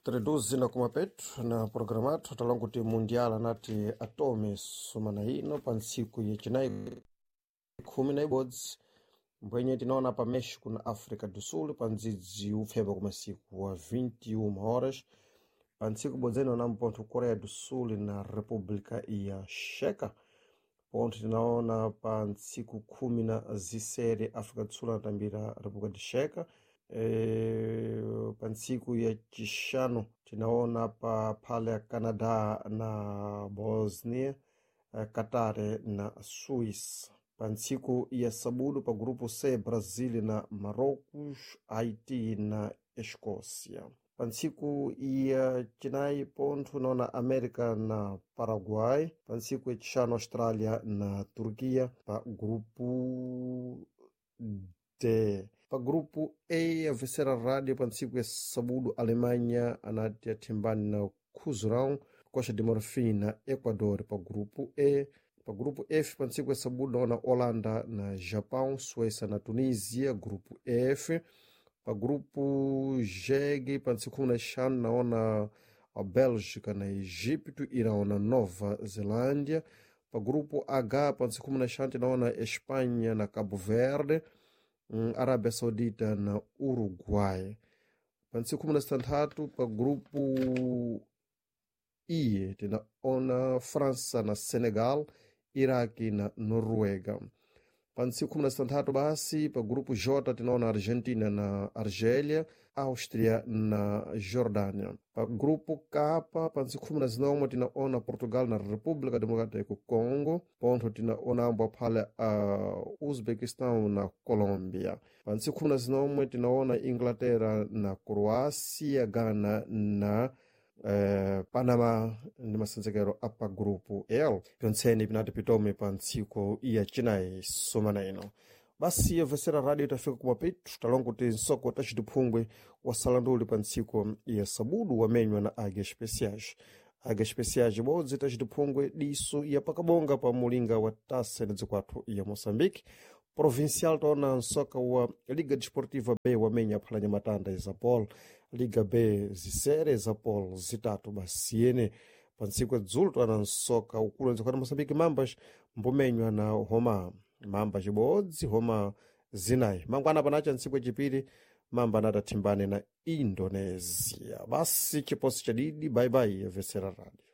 Treduzi na kumapetu na programa athu talonga kuti mundial anati atome sumana ino pa ntsiku yacinayi 11 mbwenye tinaona pa México na África do Sul pa ndzidzi upfemba ku masiku wa 21 horas. Pa ntsiku ibodzene onambo pontho Coreia do Sul na República ya Checa. Pontho tinaona pa ntsiku 16 África do Sul anatambira República de Checa. Pa ntsiku ya chixanu tinaona pa phale ya Canadá na Bosnia, Qatar na Suíça. Pa ntsiku ya sabudu pa grupo C, Brasil na Marrocos, Haiti na Escócia. Pa ntsiku ya chinayi pontho naona América na Paraguai. Pa ntsiku ya chixanu Austrália na Turquia pa grupo D. Pa grupo E, a vencer a rádio pa ntsiku ya sabudu Alemanha anati athimbani na Khuzurão, Costa de Marfim na Equador pa grupo E. Pa grupo F, pa ntsiku ya sabudu naona Holanda na Japão, Suécia na Tunísia, grupo F. Pa grupo G, pa ntsiku 15 naona a Bélgica na Egipto, Irão na Nova Zelândia. Pa grupo H, pa ntsiku 15 naona Espanha na Cabo Verde, Arábia Saudita na Uruguai. Pa ntsiku 16 pa grupo I, tinaona França na Senegal, Iraque na Noruega. Pa ntsiku 16 basi pa grupo J tinaona Argentina na Argélia, Áustria na Jordânia. Pa grupo K pa ntsiku 19 tinaona Portugal na República Democrática do Congo, pontho tinaona ambo aphale a Uzbequistão na Colômbia. Pa ntsiku 19 tinaona Inglaterra na Croácia, Ghana na Panama ndi masenzekero apa grupo L. Pyontseni pinati pitome pa ntsiku ya chinayi sumana ino. Basi yobvesera radio tafika kumapetu talonga kuti nsoko tacitiphungwe wasalanduli pa ntsiku ya sabudu wamenywa na Águia Especiais. Águia Especiais ibodzi tacitiphungwe diso ya pakabonga pa mulinga wa tasa na dzikwathu ya Moçambique. Provincial taona nsoka wa Liga Desportiva B wamenya aphalanya matanda Isapol, Liga B zisere Isapol zitatu basiyene. Pa ntsiku ya dzulo taona nsoka ukulu wa ntsiku Moçambique Mambas mbumenywa na Roma Mamba chibodzi Roma zinayi. Mangwana panacha ntsiku yachipiri Mamba anatathimbane na Indonesia. Basi chiposi chadidi, bye bye, yabvesera radio.